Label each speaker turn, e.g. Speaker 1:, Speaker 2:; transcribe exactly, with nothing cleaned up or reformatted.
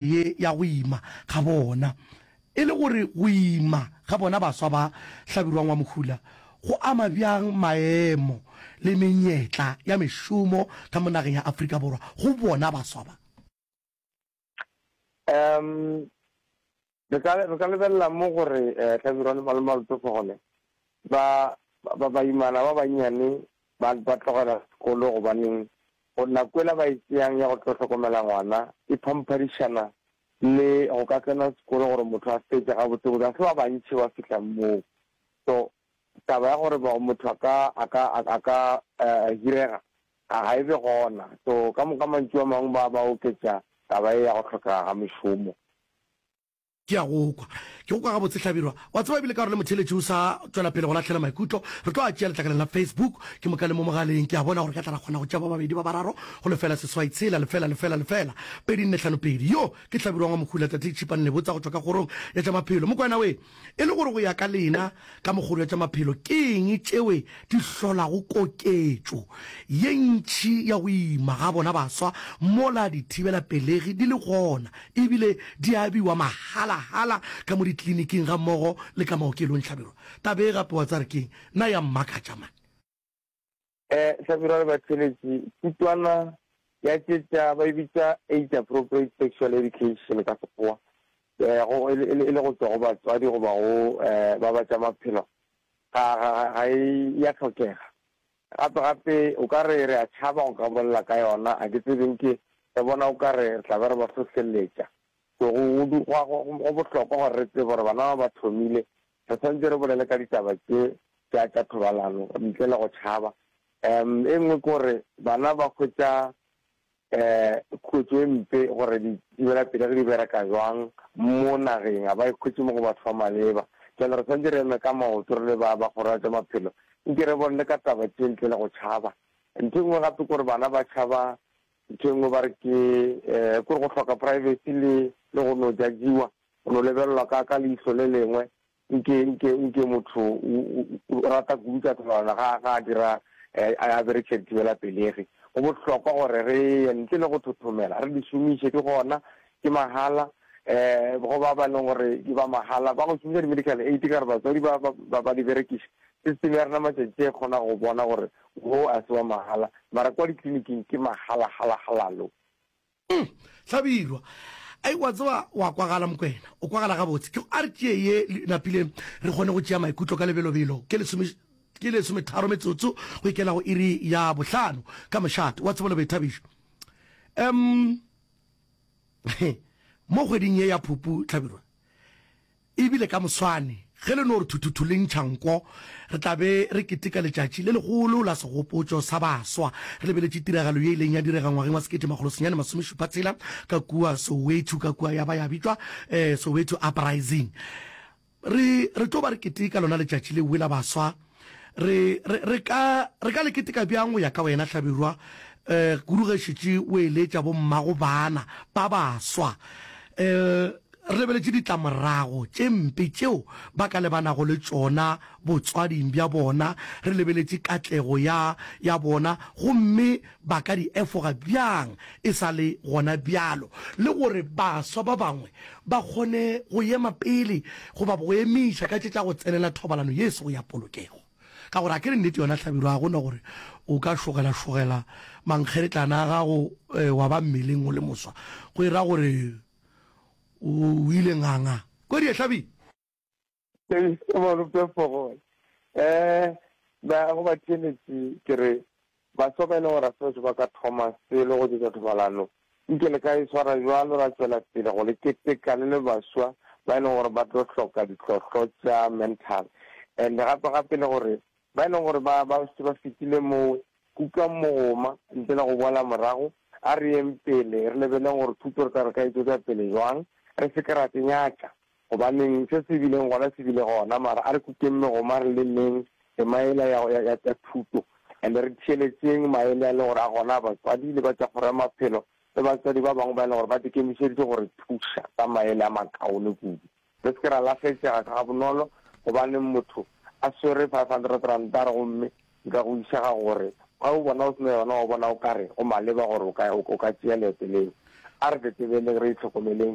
Speaker 1: ye ya go ima ga bona. E le gore go ima ga bona baswa ba Hlabirwang wa Mohula go ama bjang maemo le menyetla ya mešomo ka mo nageng ya Afrika Borwa go bona baswa ba?
Speaker 2: Um re ka re ka lebelela mo gore eh, Hlabirwa le Malome Malope ba ba baimana ba bannyane ba ba tlogela sekolo gobaneng go nako ela ba e tšeang ya go tlo hlokomela ngwana e phamphadišana le go ka tsena sekolo gore motho a fetše gabotsebotse ga se ba bantši ba fihlang moo. So taba ya gore motho a ka a ka a ka uh, hirega ga e be gona. So ka moka mantšu a mangwe ba ba oketša taba e ya go hlokega ga mešomo.
Speaker 1: Ke a go kwa. Ke go kwa gabotse, Hlabirwa. Wa tseba, ebile ka gore le motheeletši o sa tšwela pele go lahlela maikutlo, re tlo a tšea letlakaleng la Facebook, ke moka le mo mogaleng. Ke a bona gore re ka tla ra kgona go tšea ba babedi ba bararo go lefela seswai tshela lefela lefela lefela pedi nne hlano pedi. Yo ke Hlabirwa wa Mokhula, Tate Tšhipane Lebotsa go tšwa ka kgorong ya tša maphelo. Mokwena we, e le gore go ya ka lena ka mo kgoro ya tša maphelo, ke eng tšewe di hlolago koketšo ye ntši ya go ima ga bona baswa mola dithibelapelegi di le gona ebile di abiwa mahalahala ka mo ditleliniking gammogo le ka maokelong? Hlabirwa, taba e gape wa tsare keng nna ya mmakatša man.
Speaker 2: Eh Hlabirwa le batheletši, thutwana ya tše tša ba e bitša age appropriate sexual education ka Sekgowa, eh go e le go tšwa go batswadi goba go eh ba ba tša maphelo ga ga ga e ya hlokega. Gape gape o ka re re a tšhaba go ka bolela ka yona, a ke tsebeng ke re bona o ka re re tla be re ba hlohleletša. So go go bohlokwa gore re tsebe gore bana ba ba thomile, re tshwanetse re bolele ka ditaba tše tša tša thobalano ntle le go tšhaba. Um e nngwe ke gore bana ba hwetša um khuetšo e mpe gore dithibelapelegi di bereka jwang mo nageng, ga ba e hwetše mo go batho ba maleba. Jwale re tshwanetse re eme ka maoto re le ba ba kgoro ya tša maphelo, nke re bolele ka taba tše ntle le go tšhaba. Ntho e nngwe gape ke gore bana ba tšhaba ntho e nngwe ba re ke um kore go hloka privacy le le go no judgiwa, go no lebelelwa ka ka leihlo le lengwe nke nke nke motho o rata kudu tša thobalano ga ga a dira a berekiša dithibelapelegi. Go bohlokwa gore re ye ntle le go thothomela, re di šomiše, di gona, ke mahala. Um go ba ba leng gore ke ba mahala ba go šomiša di-medical aid ka gore batswadi ba ba ba di berekiša, system ya rena matšatši e kgona go bona gore wo a se wa mahala, mara kwa ditleliniking ke mahala-hala-halalo.
Speaker 1: Hlabirwa, ai wa tseba wa kwagala Mokwena, o kwagala gabotse. Ke a re tšee ye napile re kgone go tšea maikutlo ka lebelobelo. Ke lesome ke lesometharo metsotso go ikela go iri ya bohlano ka mošate wa tsebo le boithabišo. Um mo kgweding ye ya Phupu, Hlabirwa, ebile ka moswane ge le no re thuthuthu le ntšha nko, re tla be re keteka letšatši le legolo la segopotšo sa baswa, re lebeletše tiragalo ye ileng ya direga ngwageng wa sekete makgolo senyane masomešupa tshela ka kua Soweto, ka kua ya ba ya bitšwa um Soweto Uprising. Re re tlo ba re keteka lona letšatši le la baswa. Re re re ka re ka le keteka bjang go ya ka wena, Hlabirwa, um kudu ge šetše o eletša bommago bana ba baswa, um re lebeletše ditlamorago tše mpe tšeo ba ka lebanago le tšona botswading bja bona, re lebeletše katlego ya ya bona, gomme ba ka di efoga bjang e sa le gona bjalo, le gore baswa ba bangwe ba kgone go ema pele goba go emiša ka tše tša go tsenela thobalano ye sego ya polokego? Ka gore a ke re nnete yona, Hlabirwa, ga gona gore o ka šogela-šogela mankgeretlana a gago wa ba mmeleng o le moswa go e ra gore o ile nganga kwedi e hlabi.
Speaker 2: Malope Fogole, um ba go ba theeletše ke re baswa ba e leng gore a se ba ka thoma selo go tšetša thobalano, nke le ka e swara jwalo ra tšwela pele go le keteka le le baswa ba e leng gore ba tlo hloka ditlhohlo tša mental, and gape gape le gore ba e leng gore ba ba se ba fetile moo, kukang mogoma ntle le go boela morago. A re yeng pele re lebeleng gore thuto re ka re ka e tšwetša pele jwang, re se ke ra tsenyatša gobaneng se se bileng gona se bile gona, mara a re kukeng megoma re lemeng tema ela ya, ya, ya, ya thuto, and re theeletšeng maele a leng gore a gona batswadi le ba tša kgoro ya maphelo le batswadi ba bangwe ba e leng gore ba ikemišeditše gore thuša ka maele a makaone kudu. Re se ke ra lahletšega ka ga bonolo gobaneng motho a swere five hundred rand a re gomme nka go išega gore ga o bona o sena yona, o bona o kare go maleba gore o ka o ka tšea leeto leo. A re tetebeleng, re itlhokomeleng.